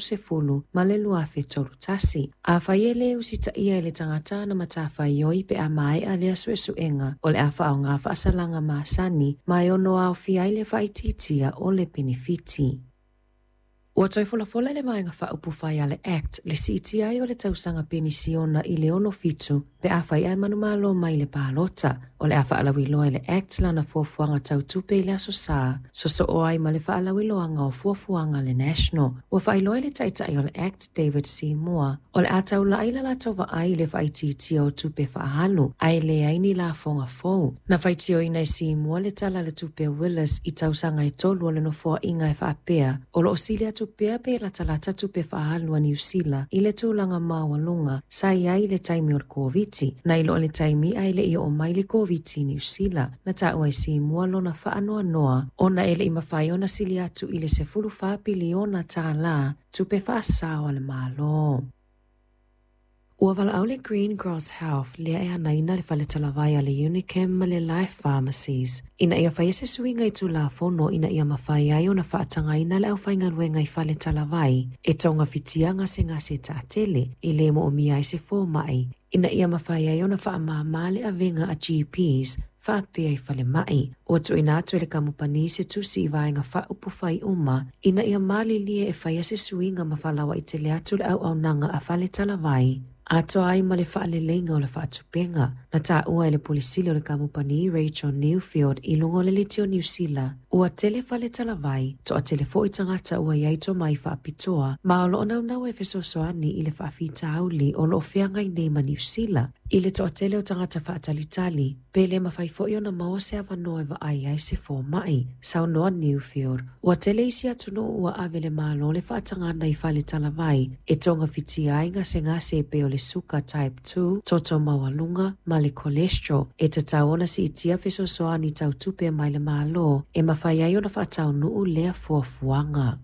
30 ma le 2031. Afai e lē usitaia e le tagata ana matafaioi pe a maea lea suesuega, o le a faaaoga faasalaga masani ma e ono aofia ai le faaitiitia o le penefiti. Ua toe folafola e le Vaega Faaupufai a le act le siitia ai o le tausaga penisiona i le 67 pe afai ae manumalo mai i le palota. O le a faalauiloa e le act lana fuafuaga tau tupe i le Aso Sa, sosoo ai ma le faalauiloaga o fuafuaga a le National. Ua faailoa e le Taitai o le act David Seymour, o le a taulai le latou vaai i le faaitiitia o tupe faaalu, ae leai ni lafoga fou. Na faitioina e Seymour le Tala o le Tupe a Willis i tausaga e tolu o le nofoaiga e faapea, o lo o sili atu pea pe latalata tupe faaalu a Niu Sila i le tulaga maualuga sa i ai i le taimi o le Koviti, nai lo le taimi ae le i oo mai le Koviti i Niu Sila. Na taua e Seymour lona faanoanoa ona e le i mafai ona sili atu i le $14 piliona tupe faasao a le Malo. Ua valaau le Green Cross Health lea e anaina le fale talavai a le Unichem ma le Life Pharmacies ina ia faia se suiga i Tulafono ina ia mafai ai ona faatagaina le aufaigaluega i fale talavai e togafitia gasegase taatele e lē moomia ai se fomai ina ia mafai ai ona faamāmā le avega a GPs faapea i falemai. Ua tuuina atu e le kamupani se tusi i vaega faaupufai uma ina ia malilie e faia se suiga ma faalauaitele atu le auaunaga a fale talavai atoa ai ma le faaleleiga o le faatupega. Na taua e le Pule Sili o le kamupani Rachel Newfield i luga o le Leitio Niu Sila, ua tele fale talavai, toatele foi tagata ua i ai tomai faapitoa, ma o lo o naunau e fesoasoani i le faafitauli o lo o feagai nei ma Niu Sila. I le toatele o tagata faatalitali, pe le mafai foi ona maua se avanoa e vaai ai se fomai, saunoa Newfield. Ua tele isi atunuu ua ave i le Malo le faatagaga i fale talavai e togafitia ai gasegase e pei o le suka type 2, toto maualuga, ma le cholesterol. E tatau ona siitia fesoasoani tau tupe mai le Malo e mafai ai ona faataunuu lea fuafuaga.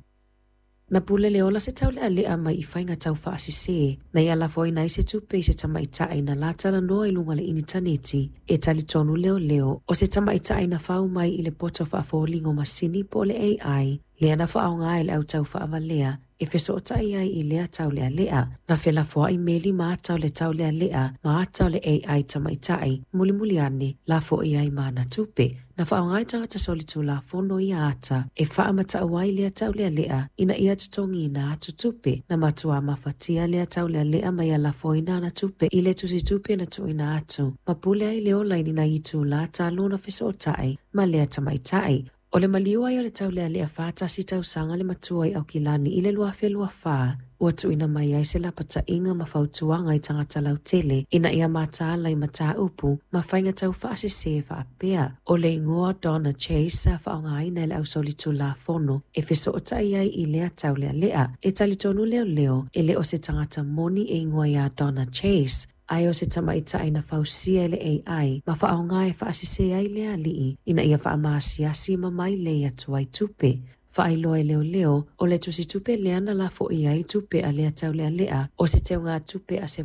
Na pule le ola se taulealea mai i faiga tau faasese, na ia lafoina ai se tupe i se tamaitai na latalanoa i luga o le initaneti, e talitonu leoleo o se tamaitai na fau mai i le poto faafoliga o masini po o le AI, lea na faaaoga e le au tau faavalea e fesootai ai i lea taulealea. Na felafoai meli ma ata o le taulealea ma ata o le AI tamaitai, mulimuli ane, lafoia ai ma ana tupe. Na faaaoga e tagata solitulafono ia ata e faamatau ai lea taulealea ina ia totogiina atu tupe. Na matuā mafatia lea taulealea ma ia lafoina ana tupe i le tusitupe na tuuina atu, ma pule ai le ola i ni nai itulā talu ona fesootai ma lea tamaitai. O le maliu ai o le taulealea 41 tausaga le matua i Aukilani i le 2024, ua tuuina mai ai se lapataiga ma fautuaga i tagata lautele ina ia mataala i mataupu ma faiga tau faasese faapea. O le igoa Donna Chase sa faaaogaina e le ausolitulafono e fesootai ai i lea taulealea. E talitonu leoleo e le o se tagata moni e igoa ia Donna Chase, ae o se tamaitai na fausia e le AI ma faaaoga e faasese ai le alii ina ia faamaasiasi ma mailei atu ai tupe. Faailoa e leoleo, o le tusitupe lea na lafoia ai tupe a lea taulealea o se teugatupe a se